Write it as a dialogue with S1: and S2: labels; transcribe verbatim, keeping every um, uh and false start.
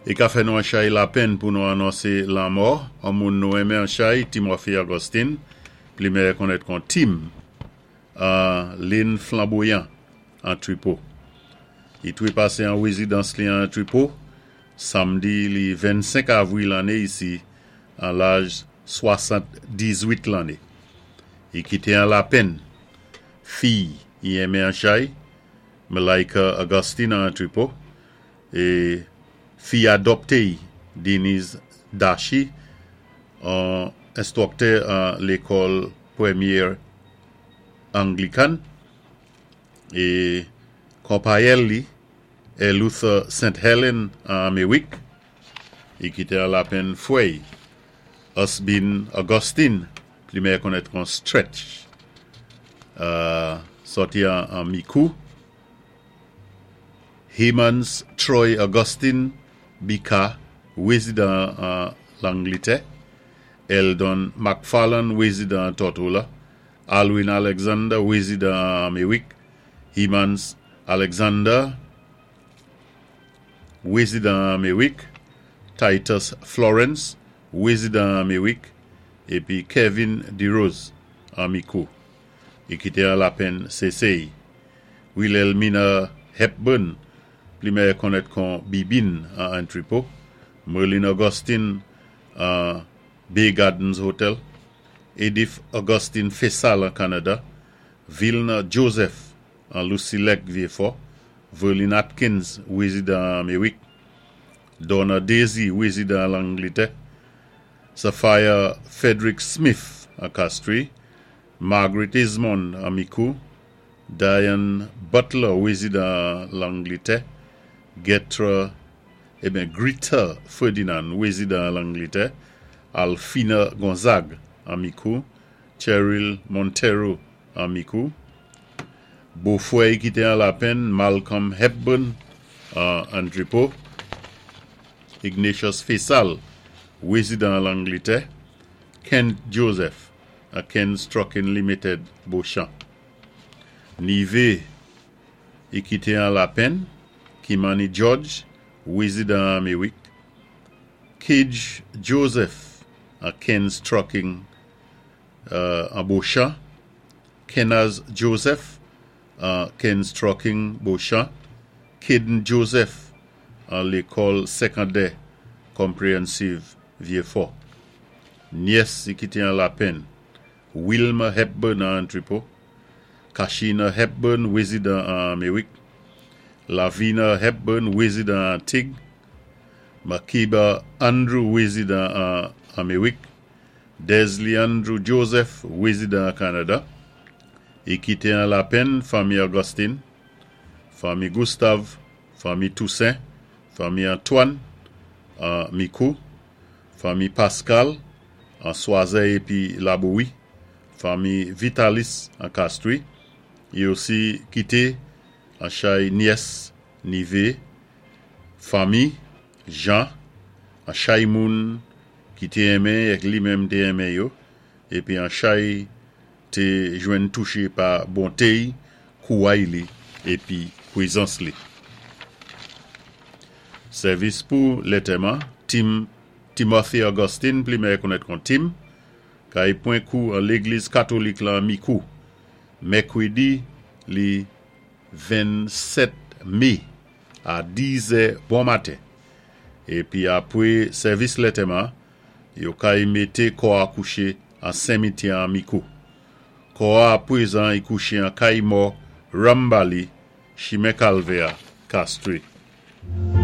S1: I ka fè nou an chay lapenn pou nou anonsé lanmò an moun nou enmen an chay, Timothy Augustine, pli mèyè konnèt kon Tim, an Linn Flamboyant, an Tripo. I twé pasé an wézidans li an Tripo, samdi li vennsenk avwil lanné isi, an laj swasann-dizwit lanné. I kité an lapenn fiy i enmen an chay, Malaika Augustine an Tripo, é fiy adopté Denise Dachi, an enstwiktè an lékòl Pwémyé Anglikan, é konpayèl li, Luther Saint Helen an Améwik. I kité an lapenn fwè Osbin Augustine, pli mèyè konnèt kon Stretch, euh, sòti an, an Mikou, Hemans Troy Augustine Bika, wézidan an Langlitè, Eldon McFarlane, wézidan an Tortola, Alwin Alexander, wézidan an Améwik, Hemans Alexander, wézidan an Améwik, Titus Florence, wézidan an Améwik, épi Kevin DeRose an Mikou. I kité an lapenn sésé'y Wilhelmina Hepburn, pli mèyè konnèt kon Bibin an Tripo, Merlin Augustine an Bay Gardens Hotel, Edith Augustine Fessal an Kanada, Vilna Joseph an Lucilec Vieux-Fort, Verlin Atkins, wézidan an Améwik, Donna Daisy, wézidan an Langlitè, Sophia Frederick Smith an Castries, Margaret Ismond an Mikou, Diane Butler, wézidan an Langlitè, Getra, ébyen Greta Ferdinand, wézidan an Langlitè, Alfina Gonzague an Mikou, Cheryl Montero an Mikou, bofwè i kité an lapenn, Malcolm Hepburn an Tripo, Ignatius Faisal, wézidan an Langlitè, Kent Joseph a Ken's Trucking Limited, Beauchamp. Nivé i kité an lapenn, Kimani George, wézidan an Améwik, Cage Joseph a Ken's Trucking euh, an Beauchamp, Kenaz Joseph a Ken's Trucking, Beauchamp, Caden Joseph an lékòl sékondè Comprehensive Vieux-Fort. Nyès i kité an lapenn, Wilma Hepburn an Tripo, Kashina Hepburn, wézidan an Améwik, Lavina Hepburn, wézidan an Tig, Makiba Andrew, wézidan an Améwik, Desley Andrew Joseph, wézidan an Kanada. I kité an lapenn fanmi Augustine, fanmi Gustave, fanmi Toussaint, fanmi Antoine an Mikou, fanmi Pascal an Soisey épi Laboui, fanmi Vitalis an Castries, i osi kité an chay nyès, nivé, fanmi Jean, an chay moun ki té enmen èk li menm té enmen yo, épi an chay té jwenn touché pa bonté'y, kouway li, épi pwézans li. Sèvis pou lantèman, Tim Timothy Augustine, pli mèyè konnèt kon Tim, kay pwan kou an légliz katolik la Mikou, mèkwédi li vennsèt mé a diz è bon maten. Épi apwé sèvis lantèman, yo kay mété kò a kouché an simityè an Mikou. Kò a pwézan i kouché an kay mò Rambali, chimen Kalvè, Castries.